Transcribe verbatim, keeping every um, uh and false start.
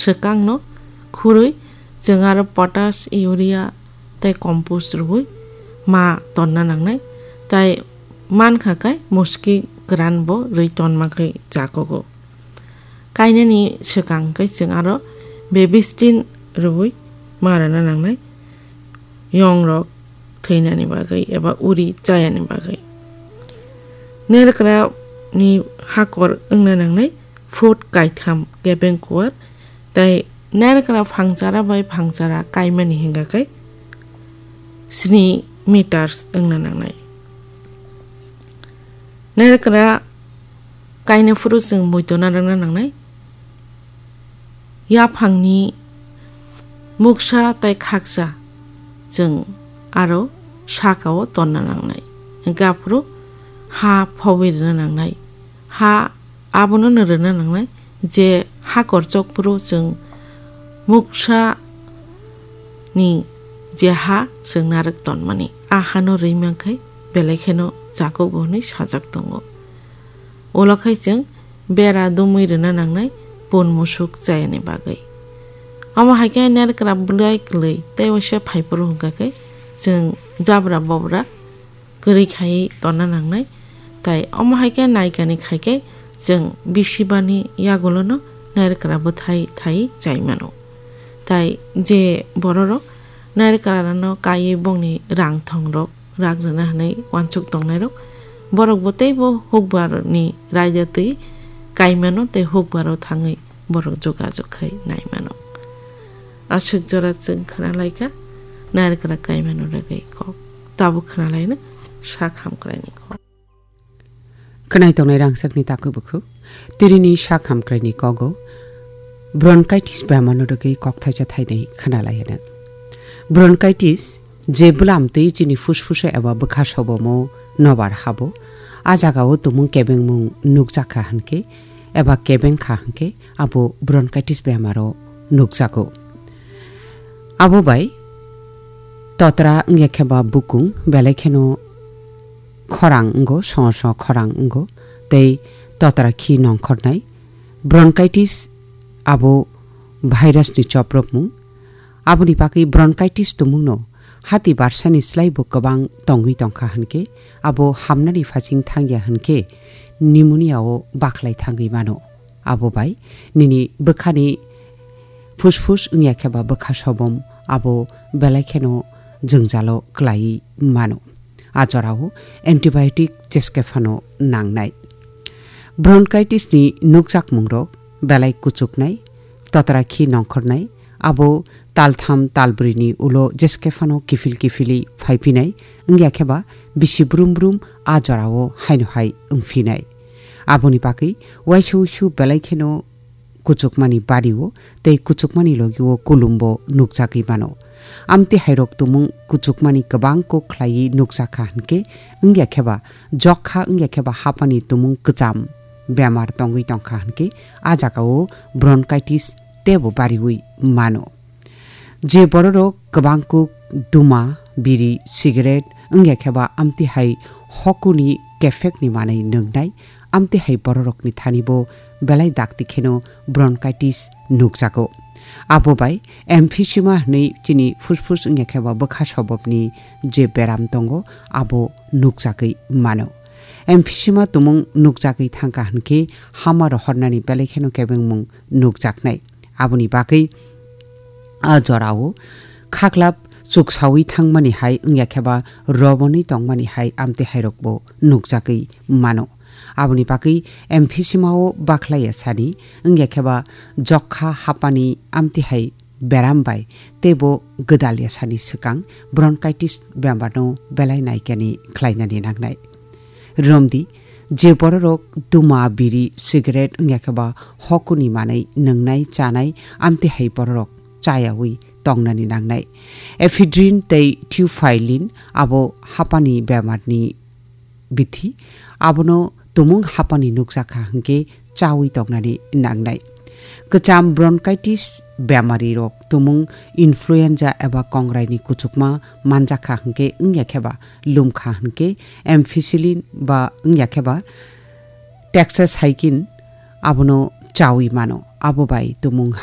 swkangno khurwi chwng aro potash, urea tei compost rwui ma tonna nangnai, tei mankha khe muski kwran bo rwi tonma khe chakugo. Kainani swkang khe chwng aro bebistin rwui ma rwna nangnai, yongrok thwinani bagwi eba uri chayani bagwi. Nerkra ni hakor wngna nangnai foot kaitham kebeng kuwar, tei nerkra phangchara bai phangchara kaimani hinkha khe sni meters wngna nangnai. Nerkra kaina phuru chwng muitu narwkna nangnai. Yaphangni muksa tei khaksa chwng aro sakao tonna nangnai. Hinkhe aphuru ha phowi rwna nangnai. Ha abono no rwna nangnai je ha korchok phuru chwng muksa ni je ha chwng narwk tonmani, a hano rwi mankhe belai kheno chakugo hwnwi sajak tongo. Ulo khai chwng bera dumui rwna nangnai pun musuk chayani bagwi. Omo hai khe nerkra bwlai kwlwi tei waisa phaiphuru hwnkha khe chwng jabra bobra kwrwi khaiwi tonna nangnai. Tai omo hai khe naikani khai khe chwng bisibani yagulono nerkra bwthai thai chai mano. Tai je bororok nerkra rano kaiwi bongni rang thongrok rak rwna hwnwi uansuk tongnairok, borok bo teibo hukbarni raida twi kaimano tei hukbaro thangwi borok jogajog khai naimano. Aswk jora chwng khwnalaikha nairwkra kaimano rwgwi kok. Tabuk khwnalaino sak hamkraini kok. Khwnai tongnai rangchakni takhuk bukhuk. Tirini sak hamkraini kogo bronchitis bemarno rwgwi kok thaisa thainai khwnalaiyano. Bronchitis je bwlam twi chini phusphus eba bwkha sobomo nobar habo, a jagao tumung kebengmung nukjakha hwnkhe eba kebengkha hwnkhe abo bronchitis bemaro nukjago. Abo bai totra wngya khe ba bukung belai kheno khorang wngo, songo songo khorang wngo, tei totra khi nongkhornai. Bronchitis abo virus ni choprokmung. Aboni bagwi bronchitis tumungno hati barsani slai bo kwbang tongwi tongkha hwnkhe, abo hamnani phasing thangya hwnkhe pneumonia o bakhlai thangwi mano. Abo bai nini bwkhani phusphus wngya khe ba bwkha sobom abo belai kheno jwngjalo kwlaiwi mano. A jorao antibiotic jeske phano nangnai. Bronchitis ni nukjakmungrok belai kuchuknai, totra khi nongkhornai, abo taltham talbrini ulo jeske phano kiphil kiphilwi phaiphinai, wngya khe ba bisi brum brum a jorao haino hai wngphinai. Aboni bagwi waisa uisu belai kheno kuchukmani bario tei kuchukmani logio kulumbo nukjagwi mano. Amtwi hairok tumung kuchukmani kwbang kuk khlaiwi nukjakha hwnkhe, wngya khe ba jokha wngya khe ba hapani tumung kwcham bemar tongwi tongkha hwnkhe, a jagao bronchitis teibo bariwi mano. Je bororok kwbang kuk duma, biri, cigarette wngya khe ba amtwi hai hokuni kephekni manwi nwngnai, amtwi hai bororokni thani bo belai dakti kheno bronchitis nukjago. Abo bai emphysema hwnwi chini phusphus wngya khe ba bwkha sobopni je beram tongo, abo nukjagwi mano. Emphysema tumung nukjagwi thangkha hwnkhe hama rohornani belai kheno kebengmung nukjaknai. Aboni bagwi a jorao khaklap chuksawi thangmani hai wngya khe ba roboni tongmani hai amtwi hairokbo nukjagwi mano. Aboni bagwi emphysema o bakhlaiya sani wngya khe ba jokha hapani amtwi hai beram bai teibo gwdalya sani swkang bronchitis bemarno belai naikani khlainani nangnai. Romdi, je bororok duma, biri, cigarette wngya khe ba hokuni manwi nwngnai, chanai, amtwi hai bororok chayawi tongnani nangnai. Ephedrine tei theophylline abo hapani bemarni bithi, abono tumung hapani nukjakha hwnkhe chawi tongnani nangnai. Kwcham bronchitis bemarirok tumung influenza eba kongraini kuchukma manjakha hwnkhe wngya khe ba lumkha hwnkhe ampicillin ba wngya khe ba tetracycline abono chawi mano. Abo bai tumung